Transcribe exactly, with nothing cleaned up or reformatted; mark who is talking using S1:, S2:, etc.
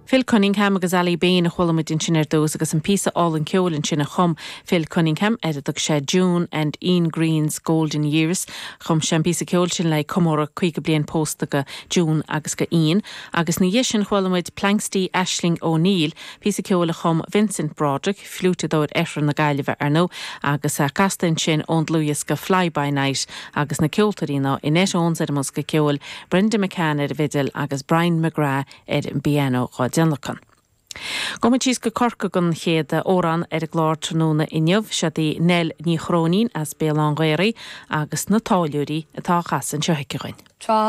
S1: Phil Cunningham agus Aly Bain a chuala muid ansin ar dtús agus an píosa álainn ceoil ansin a chum Phil Cunningham ar a dtug sé June and Ian Green's Golden Years chum sé an píosa ceoil sin le comóradh caoga bliain pósta go June agus go Ian, agus ina dhiaidh sin chuala muid Planxty Aisling O'Neill, píosa ceoil a chum Vincent Broderick, fliúiteadóir Oirthear na Gaillimhe ar ndóigh, agus a casta ansin ón dlúthdhiosca Fly by Night agus na ceoltóirí ná Annette Owens ar an mbosca ceoil, Brenda McCann ar an bhfidil agus Brian McGrath ar an bpianó á dtionlacan. Gabhfaidh muid síos go Corcaigh don chéad amhrán ar an gclár tráthnóna inniu seo í Nell Ní Chróinín as Béal Átha an Ghaorthaidh agus na táilliúirí atá á chasadh anseo aici dúinn.
S2: Tá